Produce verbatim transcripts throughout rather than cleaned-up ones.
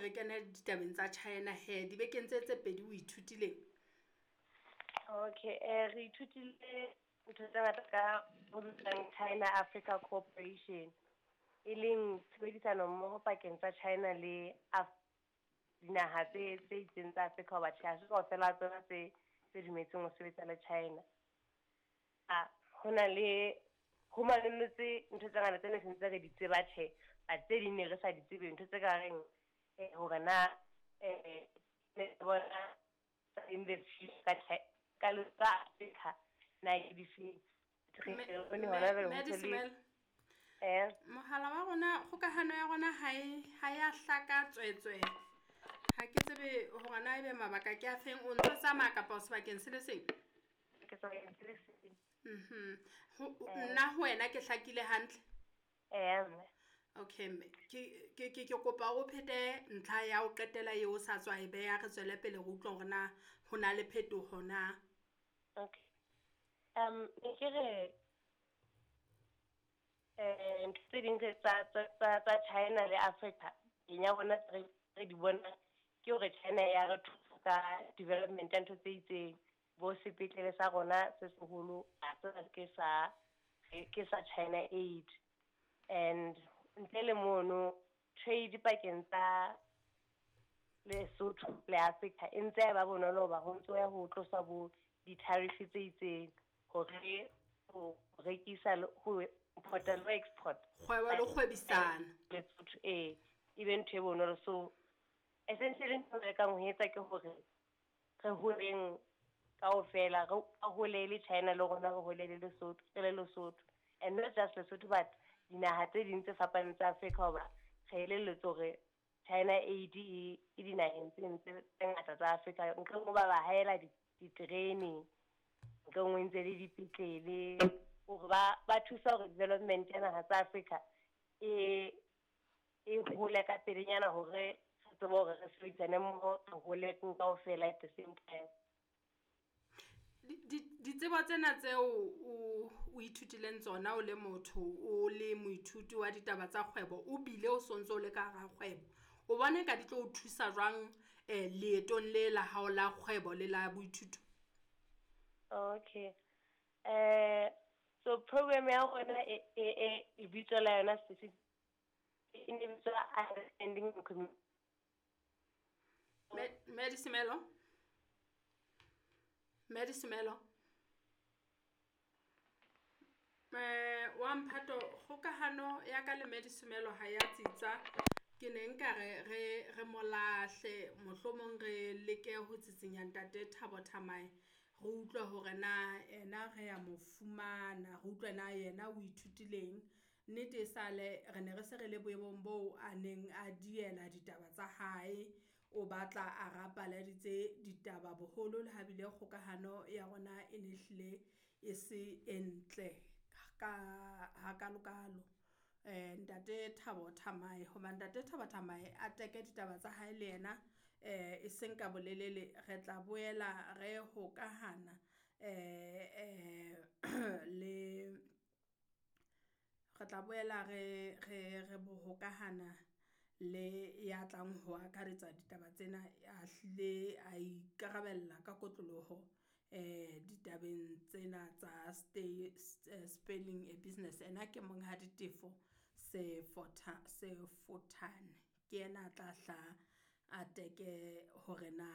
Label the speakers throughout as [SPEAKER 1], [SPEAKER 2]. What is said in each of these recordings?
[SPEAKER 1] hle re kene ditabeng tsa China he dibekeng tse tse pedi o ithutileng?
[SPEAKER 2] Okay, eh re ithutile ntho tse ngata ka ho bitswang China Africa Cooperation, e leng tshebedisano mmoho pakeng tsa China le Af- dinaha tse tse itseng tsa Afrika, hoba tjhe ha se kaofela tsona tse tse dumetseng ho sebetsa le China. A ho na le ho manollotse ntho tse ngata tse ne sentse re di tseba tjhe, but tse ding ne re sa di tsebe, ntho tse ka reng eh hore na eh ne bona in the future ka Chi- ka le ka Africa na ke difeng. Re
[SPEAKER 1] Me-
[SPEAKER 2] re bone hona jwale
[SPEAKER 1] Me-
[SPEAKER 2] ho ntso le
[SPEAKER 1] Medisimelo.
[SPEAKER 2] eh
[SPEAKER 1] Mohala wa rona, kgokahano ya rona ha e ha ya hlaka tswetswe. Ha ke tsebe hore na ebe mabaka ke a feng, o ntso tsamaya kapa o sebakeng se le seng?
[SPEAKER 2] Ke sebakeng se le seng.
[SPEAKER 1] Mhm. Ho
[SPEAKER 2] Eh.
[SPEAKER 1] nna ho wena ke hlakile hantle?
[SPEAKER 2] Eh mme.
[SPEAKER 1] Okay mme, ke ke ke ke kopa o phete ntlha ya ho qetela eo o sa tswa e beha, re tswele pele re utlwe hore na ho na le phetoho na.
[SPEAKER 2] Okay. Um ne ke re eh ntho tse ding tse tsa tsa tsa tsa China le Africa eng ya rona re re di bona ke hore China ya re thusa ka development ya ntho tse itseng, bo sepetlele sa rona se seholo a tseba ke sa ke sa China Aid, and ntle le mono trade pakeng tsa Lesotho le Africa e ntse e ba bonolo hoba ho ntso ya ho tlosa bo di-tariff tse itseng hore ho rekisa le ho import-a le ho export
[SPEAKER 1] Kgwebo le kgwebisano.
[SPEAKER 2] Lesotho e e be ntho e bonolo. So essentially ntho e re lekang ho etsa ke hore re holeng kaofela, re hole le China le rona re hole le Lesotho, re le Lesotho, and not just Lesotho but dinaha tse ding tse fapaneng tsa Africa, hoba re elelletswe hore China Aid e e dinaheng tse tse tse ngata tsa Africa, ntle ho ba ba haela diterene, ntle nngwe ntse le dipetlele, hore ba ba thusa hore development ya naha tsa Africa e e hole ka pelenyana, hore re tsebe hore re sebedisane mmoho, re hole kaofela at the same time.
[SPEAKER 1] Ditsebo tsena tseo o o ithutileng tsona o le motho, o le moithuti wa ditaba tsa kgwebo, o bile o sontso o le ka hara kgwebo, o bona eka di tlo o thusa jwang eh leetong le la hao la kgwebo le la boithuto?
[SPEAKER 2] Okay. Eh so program ya rona e e e e bitso la yona specific e ne bitswa Understanding Community.
[SPEAKER 1] Me Medisimelo? Medisimelo? Eh wa mphato, kgokahano ya ka le Medisimelo ha ya tsitsa. Ke ne nka re re re molahle, mohlomong re leke ho tsitsinya ntate Thabo Thamae, re utlwe hore na ena re ya mo fumana, re utlwe na yena o ithutileng. Nnete e sale re ne re se re le boemong boo a neng a diela ditaba tsa hae, o batla a rapaladitse ditaba boholo le ha bile kgokahano ya rona e ne hlile e se e ntle ka hakalokalo. Eh ntate Thabo Thamae, hoba ntate Thabo Thamae a teke ditaba tsa hae le yena eh e seng ka bolelele, re tla boela re hokahana eh eh le re tla boela re re re bohokahana le ya tlang ho akaretsa ditaba tsena, a hlile a ikarabella ka kotloloho eh ditabeng tsena tsa stay spelling a business. Ena ke Monghadi Tefo Sefotha Sefothane, ke yena a tla hla a teke hore na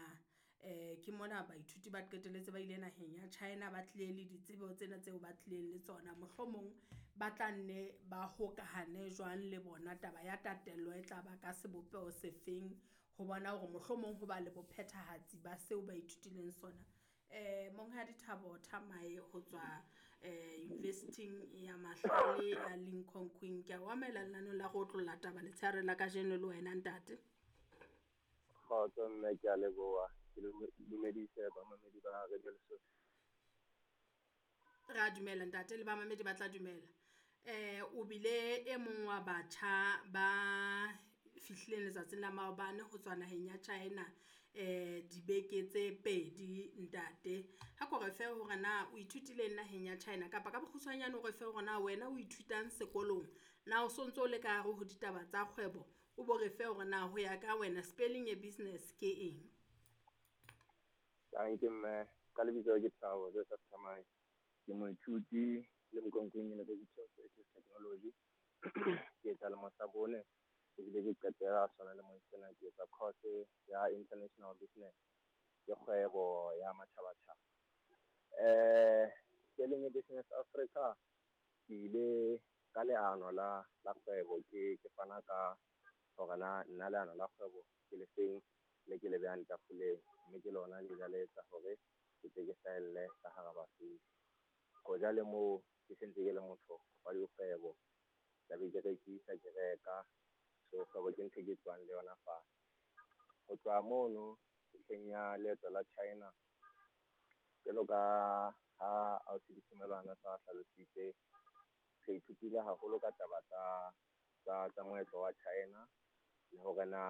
[SPEAKER 1] eh ke mona baithuti ba qetelletse ba ile naheng ya China, ba tlile le ditsebo tsena tseo ba tlileng le tsona, mohlomong ba tla nne ba hokahane jwang le bona, taba ya tatello e tla ba ka sebopeho sefeng ho bona hore mohlomong ho ba le bophethahatsi ba seo ba ithutileng sona. Eh Monghadi Thabo Thamae ho tswa eh University ya Mahlale ya Limkokwing, ke a o amohela lenaneng la go otlolla taba letshehare la kajeno le wena ntate.
[SPEAKER 3] Kgotso mme, ke a leboha. Ke le dumedise bamamedi ba Radio Lesotho.
[SPEAKER 1] Re a dumela ntate, le bamamedi ba tla dumela. Eh o bile e mong wa batjha ba fihlileng letsatsing la maobane ho tswa naheng ya China eh dibeke tse pedi ntate. Ha ko re fe hore na o ithutileng naheng ya China, kapa ka bokgutshwanyane o re fe hore na wena o ithutang sekolong, na o sontso o le ka hare ho ditaba tsa kgwebo, O bo re fe hore na ho ya ka wena spelling a business ke eng?
[SPEAKER 3] Danke mme, ka lebitso ke Thabo Joseph Thamae. Ke moithuti le Mokonkong University of Creative Technology. Ke etsa lemo sa bone ebile ke qetela sona lemong sena ke etsa course ya International Business, ke kgwebo ya matjhabatjhaba. Eh Spelling a Business Africa ke ile ka leano la la kgwebo ke ke fana ka hore na nna leano la kgwebo ke le feng le ke le behang tafoleng, mme ke lona le ile la etsa hore ke tle ke hlahelle ka hara Basotho. Hoja le moo ke sentse ke le motho wa dikgwebo, tla be ke rekisa ke reka, so kgwebo ke ntho e ke tswang le yona fatshe. Ho tloha mono ntlheng ya leeto la China, jwalo ka ha ausi Ditumelwana sa hlalositse, re ithutile haholo ka taba tsa tsa tsa moetlo wa China le hore na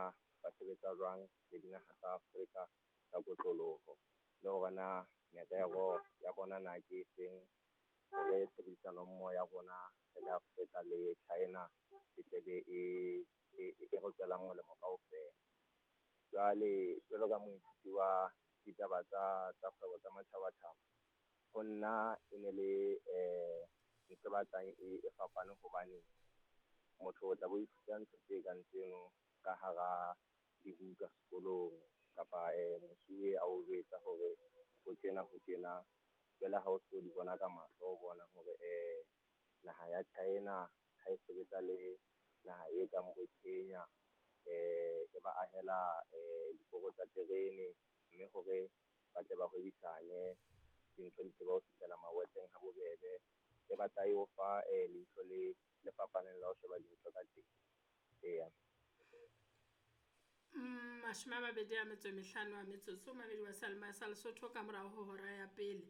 [SPEAKER 3] ba sebetsa jwang le dinaha tsa Afrika ka kotloloho, le hore na merero ya bona na ke efeng hore tshebedisano mmoho ya rona re le Afrika le China e tle be e e e re tswelang molemo kaofela. Jwale jwalo ka moithuti wa ditaba tsa tsa kgwebo tsa matjhabatjhaba, ho nna e ne le eh ntho e batlang e e fapane hobane motho o tla bo ithuta ntho tse kang tseno ka hara dibuka sekolong kapa eh mosuwe a o jwetsa hore ho tjena ho tjena. Jwale ha o so di bona ka mahlo, o bona hore eh naha ya China ha e sebetsa le naha e kang bo Kenya, eh e ba ahela eh diporo tsa terene, mme hore ba tle ba hwebisane dintho di tsebe ho fihlela mawatleng ha bobebe. E batla e o fa eh leihlo le le fapaneng la ho sheba dintho ka teng. Eya.
[SPEAKER 1] Mm, mashome a mabedi a metso e mehlano a metsotso mabedi wa Salma sa Lesotho ka morao ho hora ya pele.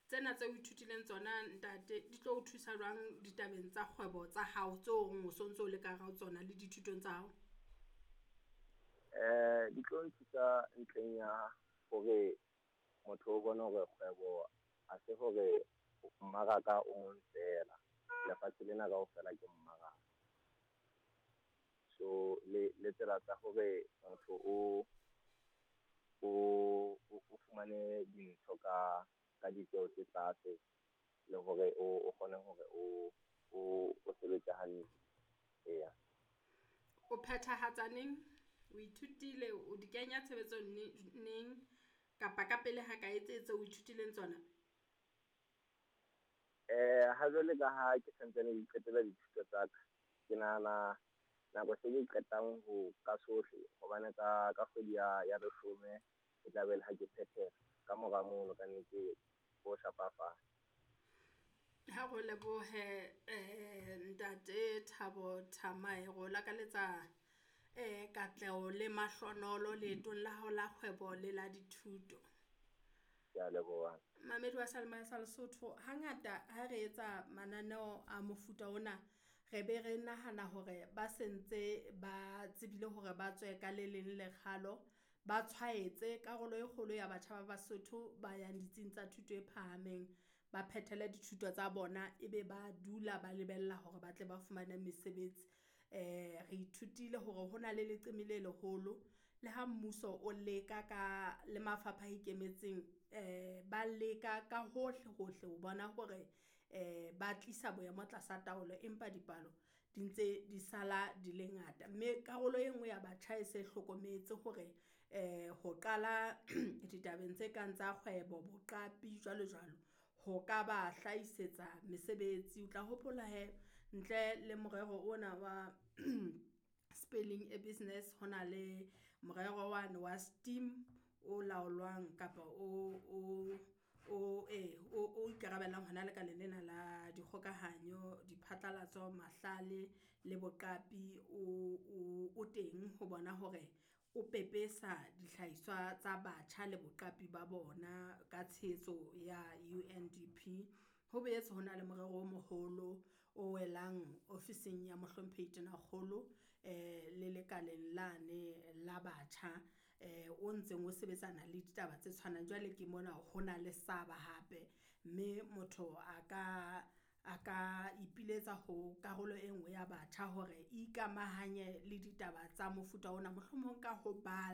[SPEAKER 1] Tsena tse o ithutileng tsona ntate di tlo o thusa jwang ditabeng tsa kgwebo tsa hao tseo o reng o sontso o le ka hara tsona le dithutong tsa hao?
[SPEAKER 3] Eh di tlo nthusa ntlheng ya hore motho o bone hore kgwebo ha se hore mmaraka o mong feela, lefatshe lena kaofela ke mmaraka. So le le tsela tsa hore motho o o o fumane dintho ka ka ditjeho tse tlase, le hore o o kgone hore o o o sebetse hantle. Eya.
[SPEAKER 1] O phethahatsa neng? O ithutile, o di kenya tshebetsong neng kapa ka pele ha kae tse tse o ithutileng tsona?
[SPEAKER 3] Eh ha jwale ka ha ke santsane ke qetela dithuto tsa ka, ke nahana nako se ke qetang ho ka sohle hobane ka ka kgwedi ya ya leshome e tla be le ha ke phethela. Ka mora mono ka nnete ho shapa fatshe.
[SPEAKER 1] Ha re lebohe eh ntate Thabo Thamae, re o lakaletsa eh katleho le mahlonolo leetong la hao la kgwebo le la dithuto.
[SPEAKER 3] Ke a leboha.
[SPEAKER 1] Mamedi wa Salma sa Lesotho, hangata ha re etsa mananeo a mofuta ona re be re nahana hore ba sentse ba tsebile hore ba tswe ka le leng lekgalo, ba tshwaetse karolo e kgolo ya batjha ba Basotho ba yang ditsing tsa thuto e phahameng, ba phethele dithuto tsa bona ebe ba dula ba lebella hore ba tle ba fumane mesebetsi. Eh re ithutile hore hona le leqeme le leholo le ha mmuso o leka ka le mafapha a ikemetseng, eh ba leka ka hohle hohle ho bona hore eh ba tlisa boemo tlasa taolo, empa dipalo di ntse di sala di le ngata. Mme karolo e nngwe ya batjha e se hlokometse hore eh ho qala ditabeng tse kang tsa kgwebo, boqapi jwalo jwalo, ho ka ba hlahisetsa mesebetsi. O tla hopola he ntle le morero ona wa Spelling a Business, hona le morero wane wa STEAM o laolwang kapa o o o eh o o ikarabellang hona lekaleng lena la dikgokahanyo, diphatlalatso, mahlale le boqapi o o o teng ho bona hore o pepesa dihlahiswa tsa batjha le boqapi ba bona ka tshehetso ya U N D P. Ho boetse hona le morero o moholo o welang ofising ya mohlomphehi Tonakgolo eh le lekaleng lane la batjha eh o ntseng o sebetsana le ditaba tse tshwanang. Jwale ke mona hona le saba hape, mme motho a ka a ka ipiletsa ho karolo e nngwe ya batjha hore e ikamahanye le ditaba tsa mofuta ona, mohlomong ka ho bala.